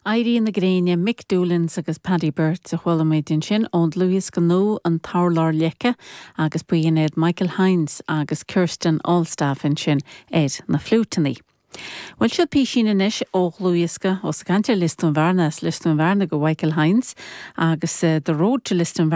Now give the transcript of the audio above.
Éirí na Gréine, Mick Doolins agus Paddy Birts a chuala muid ansin ón dlúthdhiosca nua An tUrlár Leice agus ba iad Michael Hynes agus Kirsten Allstaff ansin ar na fliúiteanna. Bhuel seo písín anois ó dhlúthdhiosca, ós ag caint ar Lios Dúin Bhearna, as Lios Dúin Bhearna go Mhichael Hynes agus The Road to Lisdoonvarna.